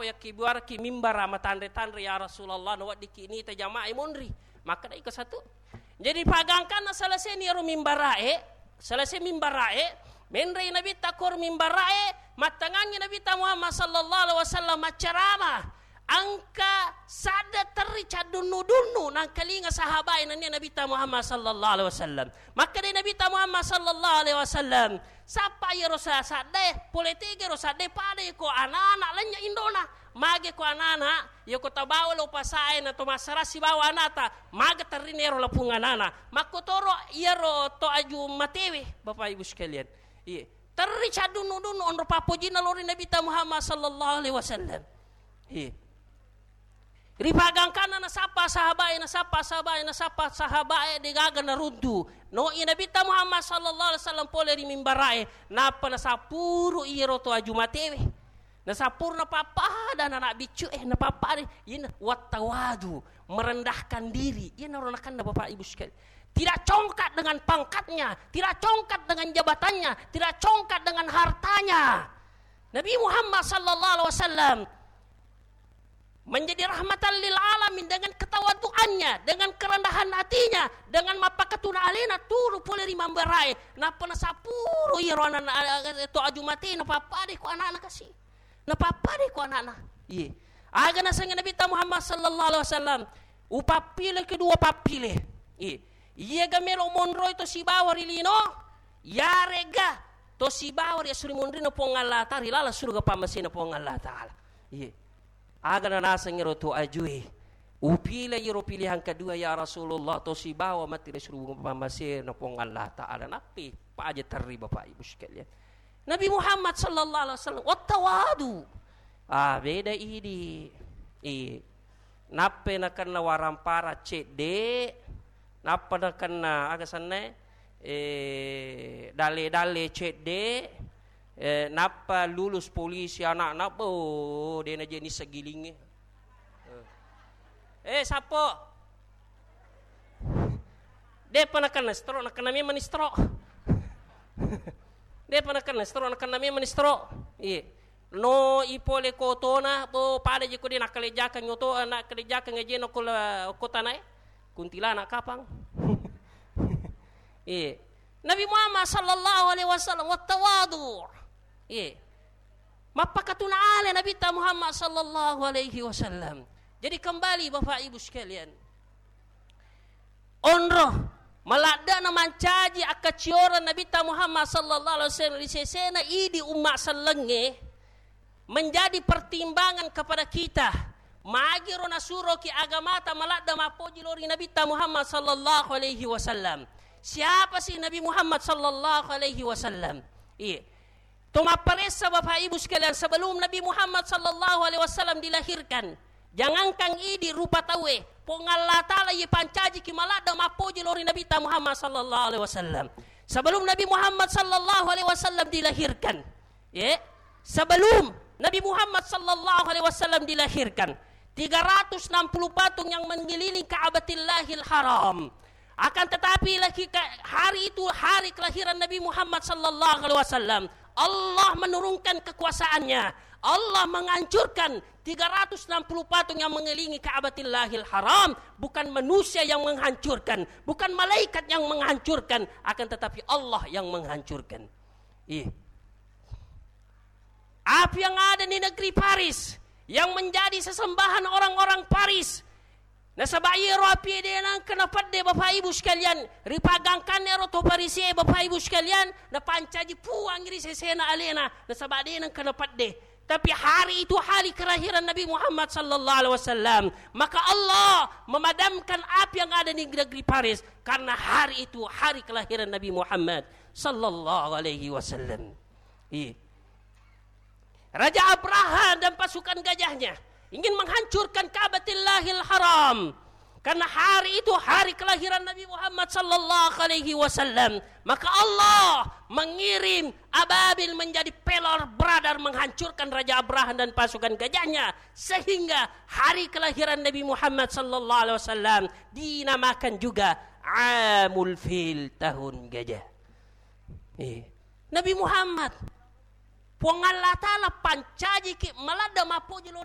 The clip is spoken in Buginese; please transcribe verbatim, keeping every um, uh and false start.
Yakkibuaraki mimbara matanre-tanre, ya Rasulullah, naweddikki nita jamaah monri. Makkeda iko satu. Jadi pagangkanna selesai ni ero mimbarae, selesai mimbarae, menrei Nabitta kor mimbarae, mattangangi Nabitta Muhammad sallallahu alaihi wasallam maccarama. Engka sadda terri caddunnu-dunnu nangkalinga sahabae nennia Nabitta Muhammad sallallahu alaihi wasallam. Makkeda Nabitta Muhammad sallallahu alaihi wasallam, sappa iyaro sa-, saddae, pole tega ro saddae, pada ko anak-anak lenya indona. Mage ko anana, iya ko tabawa lo pasae na to massarasi bawa anata, maga terri nero lapung anana. Makkotoro iyaro to aju matewe, Bapak Ibu sekalian. Iya. Terri caddunnu-dunnu onro pappojinna lori Nabitta Muhammad sallallahu alaihi wasallam. Iya. Ripagangkanna nasappa sahabae, nasappa sahabae, nasappa sahabae, degaga naruntu. No i Nabitta Muhammad sallallahu alaihi wasallam pole ri mimbarae, nappa nasappuru iyaro to aju matewe. Nasappurna pappada anak biccu, eh, napappada, iyana wattawadu, merendahkan diri. Iyanaro nakenna Bapak Ibu sekalian. Tidak congkak dengan pangkatnya, tidak congkak dengan jabatannya, tidak congkak dengan hartanya. Nabi Muhammad sallallahu alaihi wasallam menjadi rahmatan lil alamin dengan ketawaduannya, dengan kerendahan hatinya, dengan mappakatuna alena turu pole ri mimbarae, nappa nasappuru iyaro anak-anak to aju mate, napappada ko anakna kasi. Napappada ko anakna. Iye. Aga nasengnge Nabitta Muhammad sallallahu alaihi wasallam, upappile kedua pappile. Iye. Iyaga melo monroi to sibawa ri lino, yarega to sibawa ri asuri monrina Puang Allah Ta'ala ri laleng suruga pammasena Puang Allah Ta'ala. Iye. Aga nanaseng ero to ajue, upile iyaro pilihan kedua, ya Rasulullah, to sibawa matti ri suruga pammasena Puang Allah Ta'ala. Nappi paja terri Bapak Ibu sekalian. Nabi Muhammad sallallahu alaihi wasallam, wattawadu. Ah, beda idi. I. Nappa nakenna warampara cedde, nappa nakenna aga senna, eh, dalle-dalle cedde, eh, nappa lulus polisi anakna, bo, dena je nisseng gilingnge. Eh, sappo. Depa nakenna stroke, nakenna memang stroke. Depa nakenna stroke, nakenna memang stroke. Iya. No ipole kotona, bo, pada je ko de nakkalejakeng oto, nakkalejakeng aje no ko la, ko tanae. Kuntilanak kapang. Iya. Nabi Muhammad sallallahu alaihi wasallam wattawadu. Iya. Mappakatuna ale Nabitta Muhammad sallallahu alaihi wasallam. Jadi kembali Bapak Ibu sekalian. Onro, maladdana mancaji akkacioreng Nabitta Muhammad sallallahu alaihi wasallam ri sesena idi umma sellengnge menjadi pertimbangan kepada kita. Magiro nasuroki agamata maladda mappoji lao ri Nabitta Muhammad sallallahu alaihi wasallam. Siapa sih Nabi Muhammad sallallahu alaihi wasallam? Iya. To mapparessa Bapak Ibu sekalian, sebelum Nabi Muhammad sallallahu alaihi wasallam dilahirkan, jangankan idi rupa tauwe, Puang Allah Ta'ala iya pancajiki maladda mappoji lao ri Nabitta Muhammad sallallahu alaihi wasallam. Sebelum Nabi Muhammad sallallahu alaihi wasallam dilahirkan, ya, sebelum Nabi Muhammad sallallahu alaihi wasallam dilahirkan, tiga ratus enam puluh patung yang mengelilingi Ka'batillahil Haram. Akan tetapi lagi ka-, hari itu hari kelahiran Nabi Muhammad sallallahu alaihi wasallam. Allah menurunkan kekuasaannya. Allah menghancurkan tiga ratus enam puluh patung yang mengelilingi Ka'batillahil Haram. Bukan manusia yang menghancurkan, bukan malaikat yang menghancurkan, akan tetapi Allah yang menghancurkan. Iya. Apa yang ada di negeri Paris yang menjadi sesembahan orang-orang Paris. Nasaba iyaro api de nengka napedde, Bapak Ibu sekalian, ripagangkanna ero to Paris e, Bapak Ibu sekalian, napancaji Puang ri sesena alena, nasaba de nengka napedde. Tapi hari itu hari kelahiran Nabi Muhammad sallallahu alaihi wasallam, maka Allah memadamkan api yang ada di negeri Paris karena hari itu hari kelahiran Nabi Muhammad sallallahu alaihi wasallam. Iya. Raja Abraha dan pasukan gajahnya ingin menghancurkan Ka'batillahil Haram. Karena hari itu hari kelahiran Nabi Muhammad sallallahu alaihi wasallam, maka Allah mengirim ababil menjadi pelor beradar menghancurkan Raja Abraha dan pasukan gajahnya, sehingga hari kelahiran Nabi Muhammad sallallahu alaihi wasallam dinamakan juga Amul Fil, tahun gajah. Eh, Nabi Muhammad, Puang Allah Ta'ala pancajiki maladda mappoji lao